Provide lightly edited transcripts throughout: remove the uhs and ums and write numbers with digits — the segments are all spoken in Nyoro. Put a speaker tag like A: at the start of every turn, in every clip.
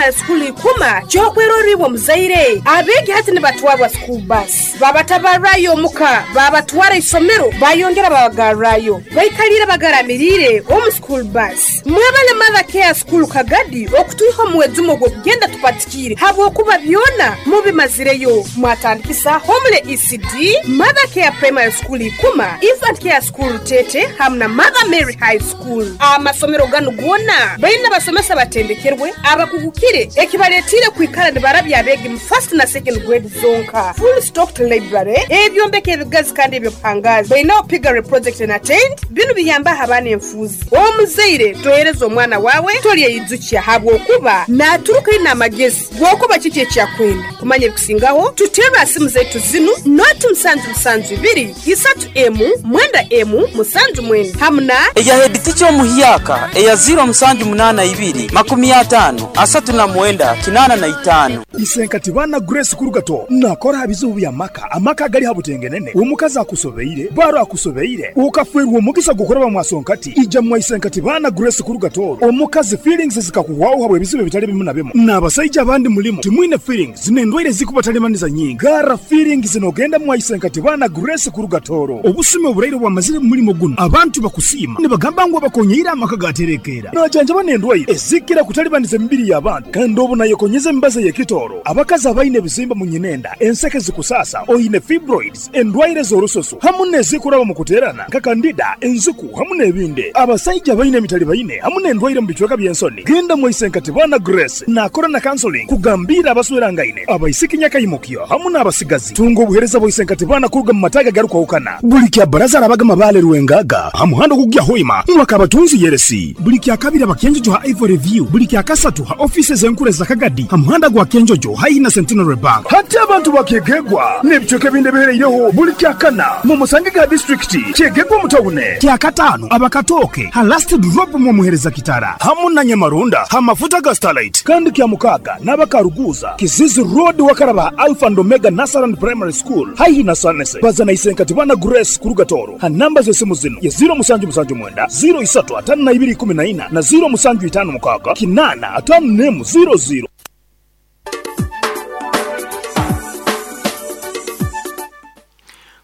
A: Primary School Ikuma ky'okwerorra iwe omuzaire. Abeegi hati nibatwarwa school bus, babatabarrayo omuka, babatwara isomero, bayongera babagarrayo. Baikaliire bagaramiriire omu school bus. Mwebale Mother Care School Kagadi okutwiha omu mwejumo gw'okugenda tupatikiire habwokuba byona mubimazireyo. Mwatandikisa Homely ECD, Mother Care Primary School Ikuma, Infant Care School Rutete hamu na Mother Mary High School. Amasomero ganu goona baine abasomesa abatendekerwe, abakugukire ekibaletiire kwikara nibarabya abeegi mu first na second grade zonka. Full stocked library, ebyombeko ebigazi kandi eby'obuhangaazi. Baineho piggery project na tent, binu biyambaho abaana enfuuzi. Omuzaire tohereza omwana waawe tolyeyijukya habwokuba naaturuka aine amagezi g'okuba kiki eki akwenda. Kumanya ebikusingaho, tuterre ha simu zaitu zinu, noti musanju musanju ibiri, isatu emu, mwenda emu, musanju mwenda hamu na.
B: Eya heditica omuhyaka eya ziiro musanju munaana ibiri, makumi ataano, asatu na mwenda, kinaana na itaano.
C: Isenkati baana Grace Kurugato nakora ha bizibu by'amaka, amaka agali ha butengenene, omukazi akusobeire, baro akusobeire, okafwerwa omugisa gw'okuraba mwasonkati, ija mwa Isenkati baana Grace Kurugato, omukazi feelings zikakuhwaho habw'ebizibu ebitali bimu na bimu, n'abasaija abandi mulimu timwine feelings n'endwaire ezikubatalibaniza nyingi, garra feelings n'ogenda mwa Isenkati baana Grace Kurugatoro. Obusumi oburaire obwamazire mu mulimo gunu, abantu bakusiima nibagamba ngu abakonyeire amaka gaterekeera. Najanjaba n'endwaire ezikira kutalibaniza emibiri y'abantu kandi obu nayekonyeza emibazi ey'ekitooro. Abakazi abaine ebizimba mu nyinenda, enseke zikusaasa, oine fibroids, endwaire z'orususu hamu n'ezikuraba mu kuteerana nka kandida, enziku hamu n'ebindi. Abasaija abaine emitalibaine hamu n'endwaire mu bicweka by'ensoni, genda mwaise Nkatibana Grace naakora na counseling kugambiira abaswerangaine, abaisiki nyakaimukyo hamu n'abasigazi. Tunga obuheereza bwa Isenkatibana kuruga mu mataagi agarukwahukana. Buli kya Baraza arabaga Mabaale Rwengaga ha muhanda ogukugya Hoima mwaka Kabatunzi Yeresi. Buli kya Kabiri aba Kyenjojo ha Ivory View. Buli kya Kasatu ha ofiisi ez'enkuru eza Kagadi ha muhanda gwa Kyenjojo haihi na Centenary Bank. Hati abantu ba Kyegegwa n'ebicweka ebindi ebihereireho buli kya Kana mumusangege ha disiturikiti Kyegegwa omu tawune. Kya Kataano aba Katooke ha Last Drop mwomuhereza Kitara hamu na Nyamarunda ha mafuta ga Starlight. Kandi kya Mukaaga n'aba Karuguuza, Kizizi Road wakaraba ha Alpha and Omega Nursery and Primary School haihi na Sanese. Baza na Isenkati Bana Grace kuruga Tooro ha namba z'esimu zinu ye ziiro musanju musanju mwenda, ziiro isatu ataano na ibiri ikumi na ina na ziiro musanju itaano mukaaga kinaana ataano n'emu ziiro ziiro.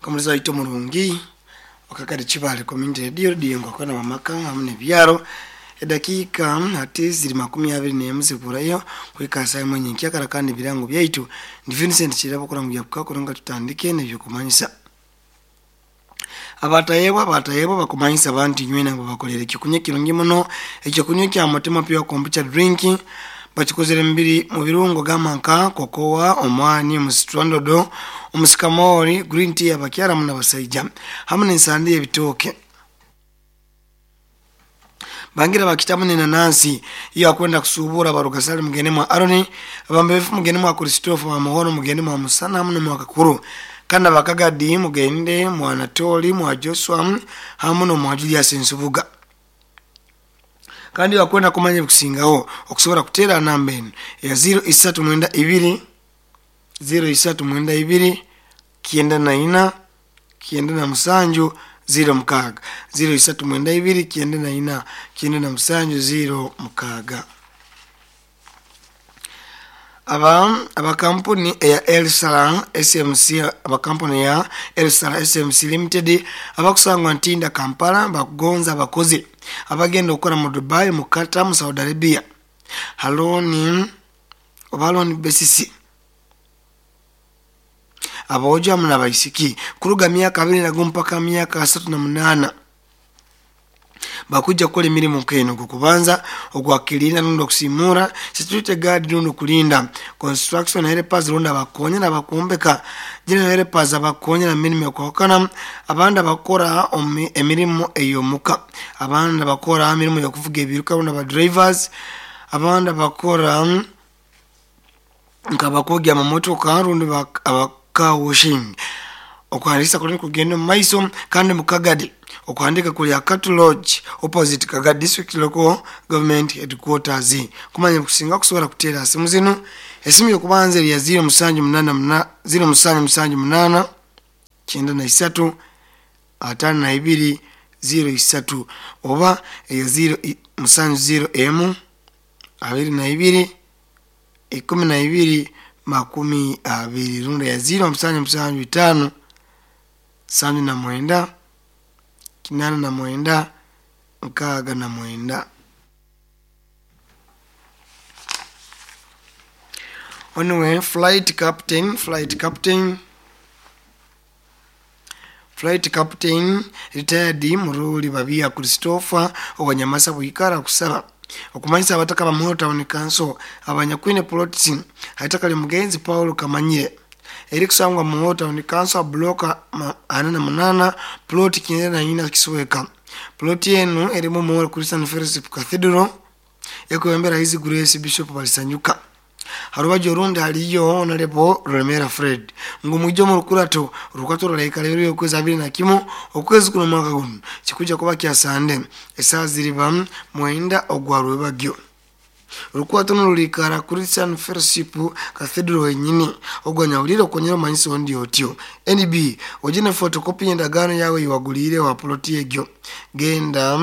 D: Omulizi waitu omurungi okakade Kibale Community Radio, Radio Ngwakwana Wamaka hamu n'ebyaro. Edakiika hati ziri makumi abiri n'emu ziburayo kuhika saa emwe nyenkyakara kandi ebirango byaitu ndi Vincent Kirabo kuranguya kukakora nga tutandike n'ebyokumanyisa. Abatayebwa abatayebwa bakumanyisa abantu inywena ngu babakolere ekyokunywa ekirungi muno, ekyokunywa ekya Mutima Pure Kombucha Drink bakikozere mu birungo gamba nka kokowa, omwani, omusitrandodo, omusikamori, green tea abakyara hamu n'abasaija hamu n'ensande y'ebitooke. Bangira bakitamu n'enanansi. Iyo akwenda kusuubura abarugasale mugende mwa Aroni, abambefu mugende mwa Kristofa, mwa mugende mwa Musana hamu n'omwa Kakuru. Kandi abakagadi mugende mwa Anatoli, mwa Joshua hamu n'omwa Julius Nsubuga. Kandi wakwenda kumanya ebikusingaho okusobora kuteera namba enu eya ziro isatu mwenda ibiri, ziro isatu mwenda ibiri, kyenda na ina, kyenda na musanju, ziro mukaaga. Ziro isatu mwenda ibiri, kyenda na ina, kyenda na musanju, ziro mukaaga. Aba abakampuni eya Elsala SMC, abakampuni ya Elsala SMC Limited abakusangwa Ntinda Kampala bakugonza abakozi abagenda okukora mu Dubai, mu Qatar, mu Saudi Arabia. Haloni oba loan basis. Aboojo hamu n'abaisiki kuruga myaka abiri na gumu mpaka myaka asatu na munaana bakujja kukora emirimu nk'eno ogw'okubanza ogwakirinda rundi okusiimura security guard rundi okulinda construction helpers rundi abakonyera abakumbeka general helpers abakonyera mu mirimu ekwahukana abandi abakora emirimu ey'omuka abandi abakora emirimu y'okuvuga ebiruka rundi aba drivers abandi abakora nk'abakwogya amamotoka rundi aba car washing. Okuhandiikisa kuli nikugenda omu maiso kandi mu Kagadi okuhandiika kuli Akatu Lodge opposite Kagadi District Local Government Headquarters. Kumanya ebikusinga kusobora kuteera ha simu zinu, esimu y'okubanza eri ya ziro musanju munaana muna, ziro musanju musanju munaana, kyenda na isatu, ataano na ibiri, ziro isatu oba eya ziro musanju ziro emu, abiri na ibiri, 12 20 rundi ya 0775 79 89 69. Anyway, flight captain retired Muruli Babia Christopher owanyamasa bwikara kusaba okumanyisa abataka ba Muhoro Town Council abanyakwine plots haitaka mugenzi Paulo Kamanyire eri kusangwa Muhoro Town Council block 48 plot 94 Kisweka. Plot yenu erimu Muhoro Christian Fellowship Cathedral ekwembera His Grace Bishop Balisanyuka. Harubajo rundi haliyo Honorable Remera Fred ngumujjo mu lukurato rukato rulaika lero yokwezi 21 okwezi kuno mwaka guno kikuja kuba kya Sande esaa ziriba 9 ogwa rwebagyo. Rukwato nurulikara Christian Fellowship Cathedral wenyini ogwanyawulire okonyera omanyisi ondi otyo. NB ogine photocopy endagaano yawe iwagulire wa plot egyo genda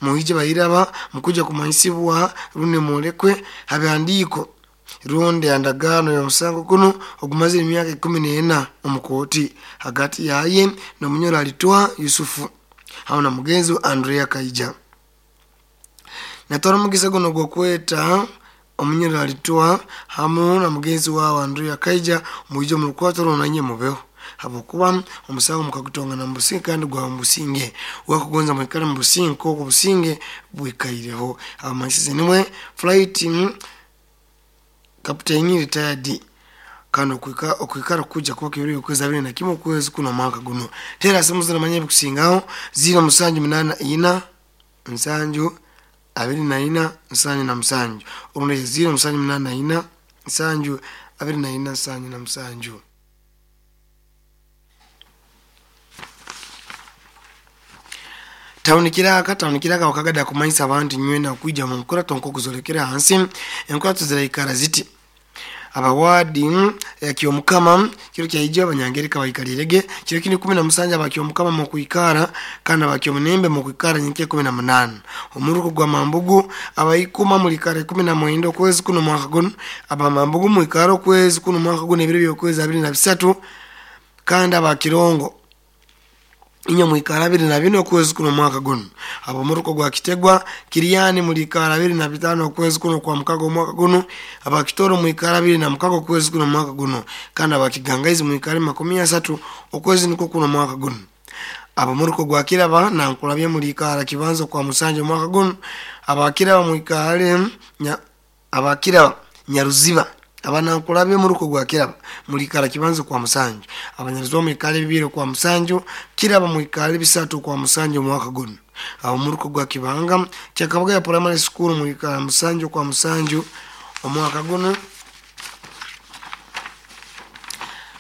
D: muhije bayiraba mukuja kumanyisibwa rune mulekwe habyandiko rundi andagano ya musango kuno ogumazire emyaka 14 omukooti hagati yaye n'omunyoro alitwa Yusufu hamu na mugenzi Andrea Kaija. Natwara omugisa guno gw'okweta omunyoro alitwa hamu na mugenzi wawe Andrea Kaija muije mu lukwato runanye mubeho habwokuba omusango mukagutongana mu businge kandi gwa mu businge wakugonza mwikale mu businge nk'oku businge bwikaireho. Abamanyisize nimwe flight captain retired kano okwikara kuja kuba kibiri okwezi 21 okwezi kuno mwaka guno. Tera simu zinamanya bikusingaho 0784 7 24 77 orundi 0784 7 24 77. Tawunikiraka wakagada kumanyisa abantu nywena kuija mu nkurato nk'okuzolekera hansi enkurato ziraikara ziti abawadi ya Kyomukama kiro kyaijja abanyangereka baikalirege kiro kini 17 abakyomukama mu kuikara kandi abakyomunembe mu kuikara nyinke 18 omuruko gwa mambugu abayikuma mulikara 19 okwezi kuno mwaka guno abamambugu muikara okwezi kuno mwaka guno ebiro byokwezi 23 kandi abakirongo inyo mwikara 24 okwezi kuno mwaka guno abo muruko gwa Kitegwa Kiriani mulikara 25 okwezi kuno kwa mukago mwaka guno abakitoro mwikara 26 okwezi kuno mwaka guno kandi abakigangaizi mwikara 30 okwezi niko kuno mwaka guno abo muruko gwa Kiraba na nkulabye mulikara kibanzo kwa musanje mwaka guno abakiraba mwikare abakiraba Nyaruziba abanankulabye muruko gwa Kiraba mulikara kibanzo kwa musanju abanyaruziba mwikale bibiri kwa musanju Kiraba mwikale bisatu kwa musanju mwaka guno abo muruko gwa Kibanga kyakabaga ya primary school mulikara musanju kwa musanju omwaka guno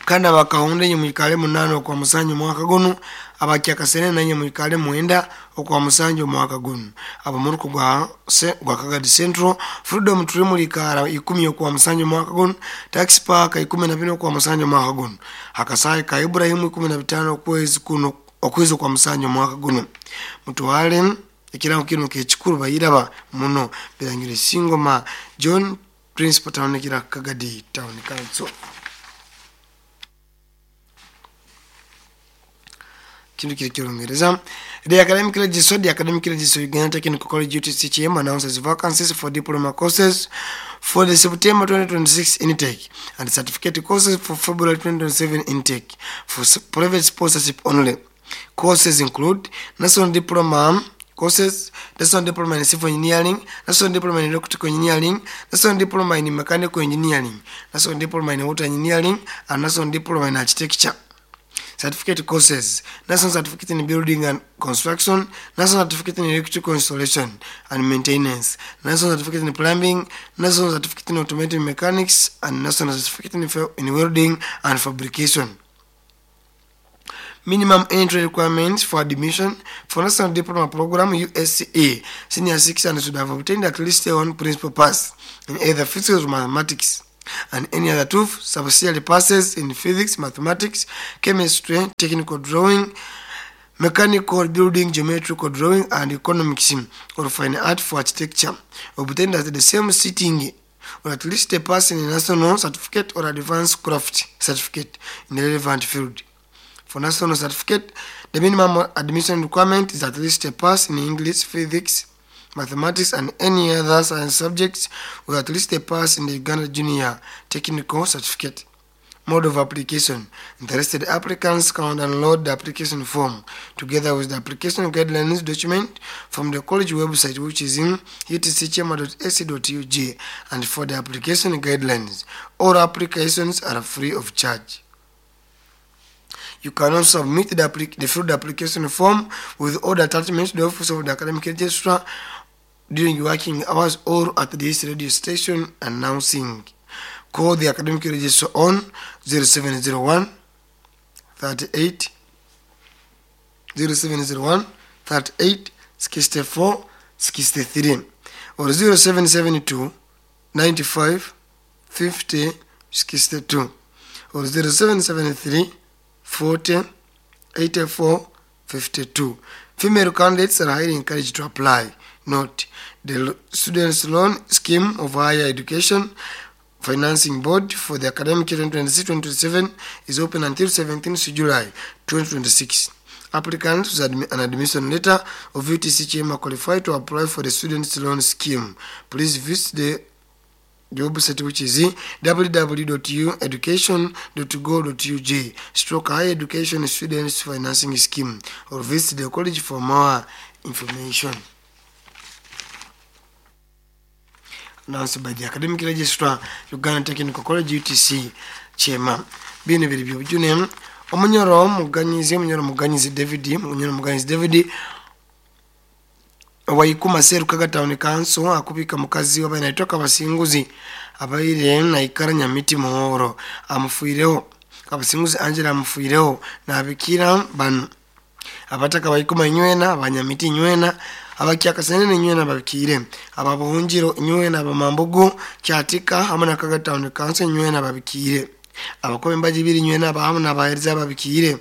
D: kandi abakahunde nye mwikale 8 kwa musanju mwaka guno abakyakasene nanye mwikale 9 okwa musanju mwaka guno abo muruko gwa Kagadi Central Freedom Tree mulikara 10 okwa musanju mwaka guno Tax Park 14 okwa musanju mwaka guno Hakasai ka Ibrahim 15 okwezi kuno okwezi kwa musanju mwaka guno mutwale ekirango kino kekikuru bayiraba muno birangire Singoma John Principal Town kira Kagadi Town Council. Kintu kiri kirungereza. The Academic Registry Uganda Technical College UTCHM announces vacancies for diploma courses for the September 2026 intake and certificate courses for February 2027 intake for private sponsorship only. Courses include National Diploma courses, National Diploma in Civil Engineering, National Diploma in Electrical Engineering, National Diploma in Mechanical Engineering, National Diploma in Water Engineering, and National Diploma in Architecture. Certificate courses, National Certificate in Building and Construction, National Certificate in Electrical Installation and Maintenance, National Certificate in Plumbing, National Certificate in Automotive Mechanics, and National Certificate in Welding and Fabrication. Minimum entry requirements for admission for National Diploma Program USCA Senior 6 and should have obtained at least one principal pass in either physics or mathematics, and any other two subsidiary passes in physics, mathematics, chemistry, technical drawing, mechanical building, geometrical drawing, and economics or fine art for architecture, obtained at the same sitting or at least a pass in a national certificate or advanced craft certificate in the relevant field. For national certificate, the minimum admission requirement is at least a pass in English, physics, mathematics, and any other science subjects, with at least a pass in the Uganda Junior Technical Certificate. Mode of application. Interested applicants can download the application form together with the application guidelines document from the college website, which is in utcchema.ac.ug, and for the application guidelines, all applications are free of charge. You can also submit the filled application form with all the attachments to the office of the academic registrar during working hours or at this radio station announcing. Call the academic registrar on 0701 38 0701 38 64 63 or 0772 95 50 62 or 0773 40 84 52. Female candidates are highly encouraged to apply. Note, the Students' Loan Scheme of Higher Education Financing Board for the academic year 2026-2027 is open until 17th July 2026. Applicants with an admission letter of UTC Chema qualify to apply for the Students' Loan Scheme. Please visit the website, which is www.education.go.ug stroke higher education students financing scheme, or visit the college for more information. Announced by the academic registrar, Uganda Technical College, UTC Chema. Bino biri byobujune. Omunyoro muganyizi David, Munyoro Muganyizi David waikuma Serukaga Town Council akubika mukazi wabaire naitwa Kabasinguzi, abaire naikara Nyamiti Muhoro, amufuireho. Kabasinguzi Angela amufuireho. Nabikira bano: abataka baikuma inywena, abanyamiti inywena, abakyakasenene inywena babikire, ababuhungiro inywena, abamambugu Kyatika hamwe na Kaga Town Council inywena babikire, abakoba embaji ibiri inywena abahamu n'abahereza babikire,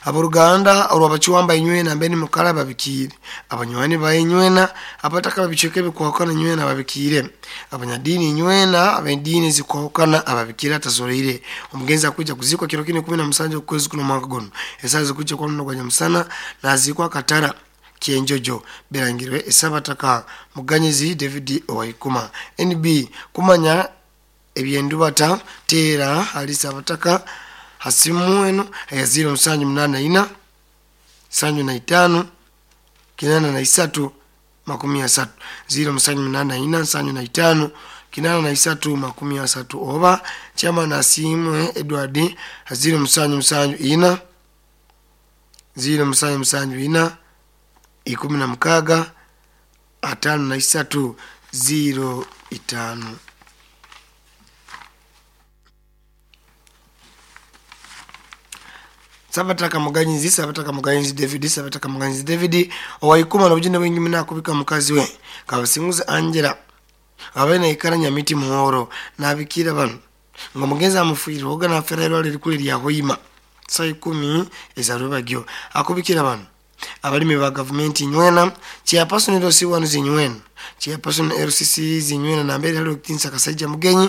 D: aboruganda olwabakiwamba inywena mbeni mukala babikire, abanywani ba inywena, abataka babicweka ebikwahukana inywena babikire, abanyadini inywena abediini zikwahukana ababikire atazoleire. Omugenzi akwija kuzikwa kiro kini 17 okwezi kuno mwaka guno, esaha zikujja kwa muno gwa nyamusana, nazikwa Katara Kyenjojo. Birangirwe Esabataka Muganyizi David Owaikuma. Nb kumanya ebyendubata, teera hali Sabataka hasimu eno eya 0784 75 83 30, 0784 75 83 30, oba chairman Asiimwe Edward 0774 0774 16 53 05. Sabataka Muganyizi, Sabataka Muganyizi David, Sabataka Muganyizi David Owaikuma nobujune bwingi muno akubika mukazi we Kabasinguzi Angela, abaire naikara Nyamiti Muhoro. Nabikira bano nga omugenzi amufiire oga nafera erwala erikulu erya Hoima saa 10 ezarubagyo. Akubikira bano: abalimi ba gavumenti nywena, chairperson LC1 zinywena, chairperson LCC zinywena nambere hali okutinsa Kasajja Mugenyi,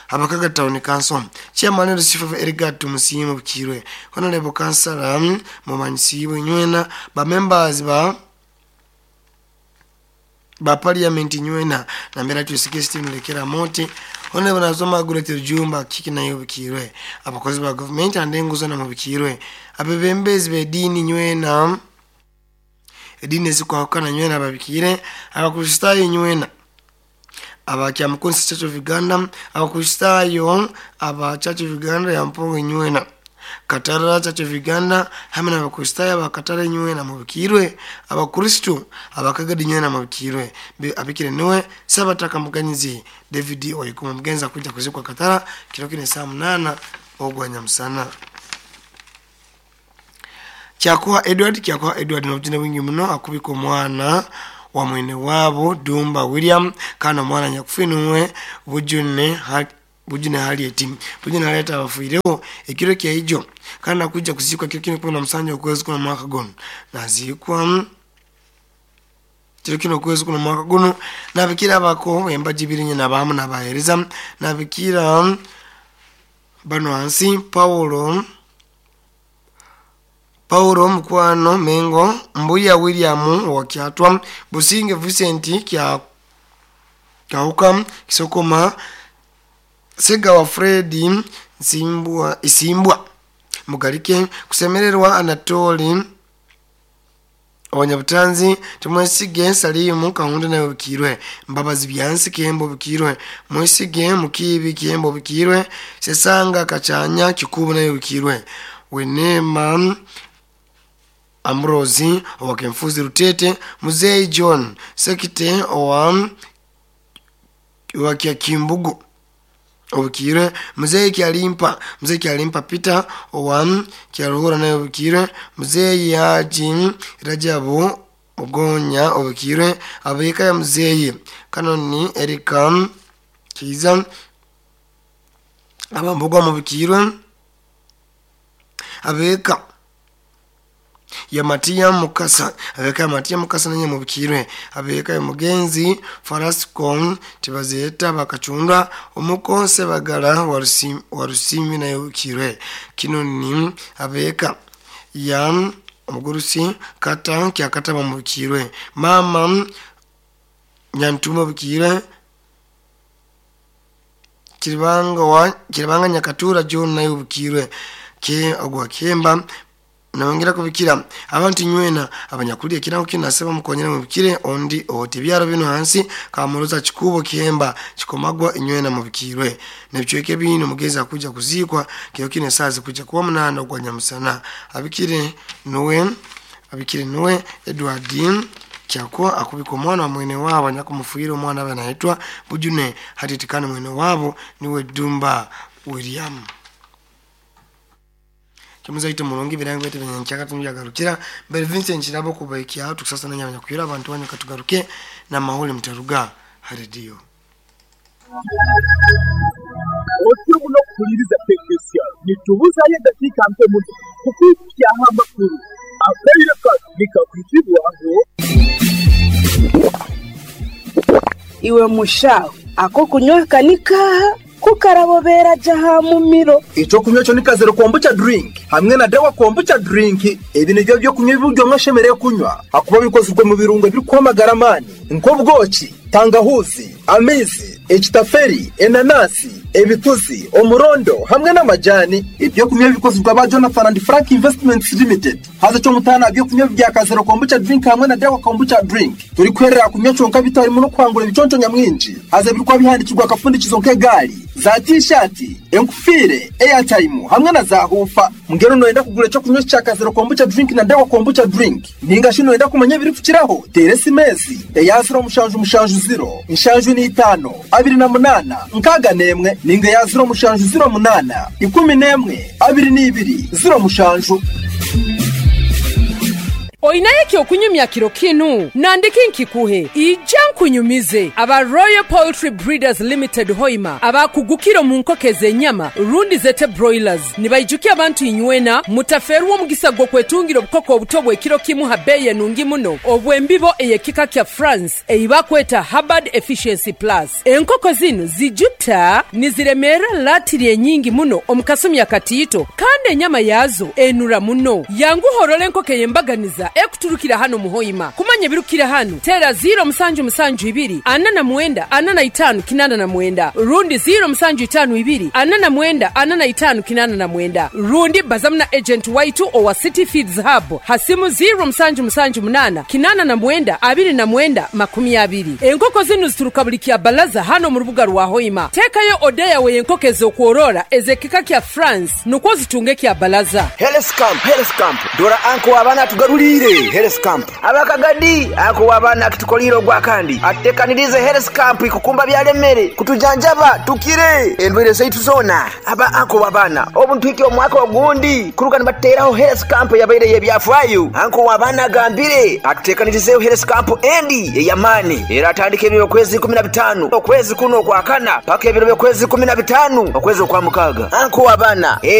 D: Abakaga Town Council, chairman LC5 Erigat Musiimo Bukirwe, honorable councillor Mumanyisibwe nywena, ba members ba parliament nywena nambera tusike Stephen Lekera Moti, honorable Nazoma Margaret Rujumba kiki nayo bukirwe, abakozi ba government and enguzo na mubikirwe, abebembezi b'ediini nywena, ediini ezikwahukana nywena babikire, Abakristaayo nywena Abakyamukunsi Church of Uganda, Abakristaayo aba Church of Uganda ya Mpongo nywena, Katara Church of Uganda hamwe n'Abakristaayo abakatara nywena mubikirwe, Abakristu Abakagadi nywena mubikirwe. Abikire niwe Sabataka Muganyizi David Waikuma. Mugenzi akuja kuzikwa Katara kiro kine saa 8 ogwa nyamusana. Kyakuha Edward, Kyakuha Edward nobujune bwingi muno akubika omwana wa mwene waabo Dumba William, kandi omwana nyakufinuwe Bujune Harriet, Bujune Harriet abafiireho ekiro kyaijo, kandi akujja kuziikwa kiro kine 17 okwezi kuno mwaka guno, naziikwa Kiro kino okwezi kuno mwaka guno nabikira abako embaji ibiri nyina abahamu nabahereza nabikira bano hansi Paulo Mukwano Mengo Mbuya William Wakyatwa Businge Vincent kya Kauka Kisokoma Segawa Fred Nsimbwa Isimbwa Mugalike Kusemererwa Anatoli Abanyabutanzi Tumwesige Salimu Kahunda nawe bikirwe Mbabazi Byansi Kembo bikirwe Mwesige Mukibi Kembo bikirwe Sesanga Kachanya Kikubu nawe bikirwe Wenema Amrozi Wakemfuzi Rutete Muzei John Sekite owa Kimbugu obukirwe Muzei Kyalimpa Peter owa Kyaruhura naye obukirwe Muzei Haji Rajabu Ogonya obukirwe Abeka ya Muzei Kanoni Erika Kiza Abambugwa mubukirwe Abeka ya Matia Mukasa abeka ya Matia Mukasa nanye mubikirwe abeka ya Mugenzi Farascon tibazeta bakachunda omukonse bagala warusimi nayo bukirwe kino ni abeka ya omugurusi kata kyakata bamubikirwe mama Nyantuma bukirwe Kiribanga Nyakatura John nayo bukirwe ke ogwa Kemba nawongera kubikira abantu nywena abanyakuliye kirango kinasaba mukonyera mubikire ondi ote byaro bino hansi kamuroza Kikubo Kemba Kikomagwa inywena mubikirwe nebicweke bino mugeza kuja kuzikwa kyo kine sazi kuja kuwa munana ogwa Nyamusana abikire nuwe Edward Kyako akubika omwana wa mwene wabo anyakumufuyira omwana banaitwa Bujune hatitikana mwene wabo niwe Dumba William. Kimuzaito mulungi birango bete benyanchaka tumyagarukira mbere Vincent Kirabo kubaikia hatu sasa nanya kuyira abantu wanyu katugaruke na mahole mtaruga radio.
E: Otyo muno kuliriza technician nitubuza ye dakika mpe muno kukukia amakuru akaire nikakuzibwaho
A: iwe mushaho ako kunywa kanika kukarabobera jaha mumiro
F: ico kunywa cyo nikazero kombucha drink hamwe na dawa kombucha drink. Ebi nivyo byo kunywa ibyo mwashemereye kunywa hakuba bikozwe mu birungo biri kwamagara mani nk'ubwoki, tangahuzi, amizi, ekitaferi, enanasi, ebituzi, omurondo hamwe n'amajani. Ibyo kunywa bikozwe ba Jonathan and Frank Investments Limited. Haza cyo mutana byo kunywa bya kazero kombucha drink hamwe na dawa kombucha drink. Turi kwerera kunywa cyonka bitari mu no kwangura ibiconco nyamwinji. Haza birikwa bihandikirwa akafundikizo nk'egari za t-shirt, enkufire, airtime hamwe na za hufa. Mungero noenda kugura cyo kunywa cya kazero kombucha drink na dawa kombucha drink. Ninga shino enda kumanya biri kukiraho. Teresi mezi eya 0 mushanju mushanju 0 inshanju ni 5 28 nkaga nemwe ninga ya 0 mushanju 0 8 11 22 0 mushanju.
G: Oinaye okunyumya kiro kinu nandiki nkikuhe ija nkunyumize aba Royal Poultry Breeders Limited Hoima abakugukiro mu nkokeze enyama rundi zete broilers nibaijukia abantu inywena mutaferuwo mugisa gwo kwetungira obukoko obutobwe kiro kimu habeye nungi muno obwembibo eyekika kya France eibakweta Hubbard Efficiency Plus. Enkoko zino zijuta niziremera latiri enyingi muno omukasumi akatito kandi enyama yazo enura muno yangu horole enkoke yembaganiza ekuturukira hano muhoima kumanya birukira hano tera 0 musanju musanju 2 49 45 89 rundi 0 musanju 5 2 49 45 89 rundi bazamna agent waitu owa City Feeds Hub hasimu 0 musanju musanju 8 89 29 20. Enkoko zinu zituruka buli kya balaza hano mu rubuga rwa Hoima. Tekayo odeya we enkoko z'okworora ezekika kya France nukwo zitunge kya balaza.
H: Health camp dora anko abana tugarulire Health camp abakagadi ako abana kitukoliro gwa kandi atekanirize health camp ikukumba byalemere kutujanjaba tukire endwere zaitu zona aba anko abana obuntwike omwaka ogundi kuruka nibateraho health camp yabaire yebyafwayo anko abana gambire atutekanirize health camp endi eyamani era atandike ebiro kwezi 15 okwezi kuno kwa kana paka ebiro kwezi 15 okwezi kwa mukaga anko abana.